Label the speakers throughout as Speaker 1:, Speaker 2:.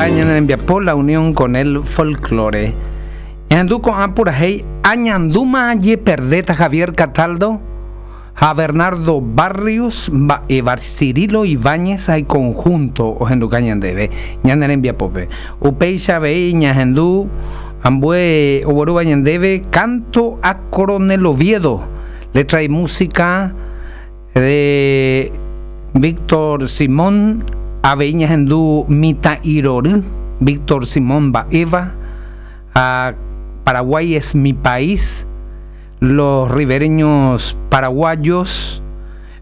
Speaker 1: Opa ñane rembiapo La Unión con el Folklore. Ñahendu ko'ã purahéi Añandúma ajeperdéta Javier Cataldo ha Bernardo Barrios mba'éva Cirilo Ibáñez ha iconjunto ohenduka ñandéve ñane rembiapópe. Upéicha avei ñahendu ambue oguerúva ñandéve Canto a Coronel Oviedo, letra y música de Víctor Simón, avei ñahendu Mitã'irory, Víctor Simón mba'éva, ha Paraguay es mi país, Los ribereños paraguayos,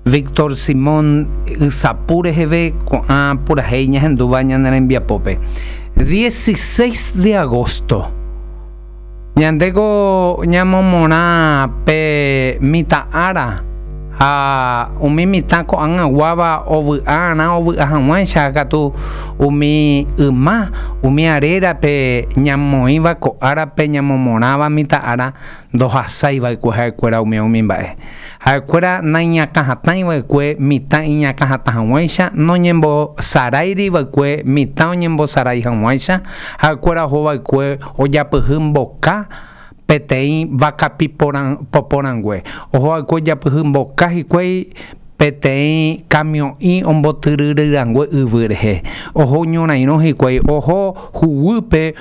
Speaker 1: Víctor Simón ysapu reheve ko'ã purahéi ñahendúva ñane rembiapópe. 16 de agosto. Ñandéko ñamomorã pe mitã ára ha umi mitã ko'ag̃aguáva ovy'arã ovy'a hag̃uáicha katu umi yma, umi arérape ñamoĩva ko árape ñamomorãva mitã ára ndohasái va'ekue ha'ekuéra umi umi mba'e. Ha'ekuéra naiñakãhatãi va'ekue mitã iñakãhatã hag̃uáicha, noñembosaráiri va'ekue mitã oñembosarái hag̃uáicha, ha'ekuéra oho va'ekue ojapyhy mboka peteĩ vakapi poporãngue. Oho va'ekue ojapyhy mboka hikuái peteĩ kamio'i ombotyryryrangue yvy rehe. Oho ñorairõ hikuái, oho huguýpe.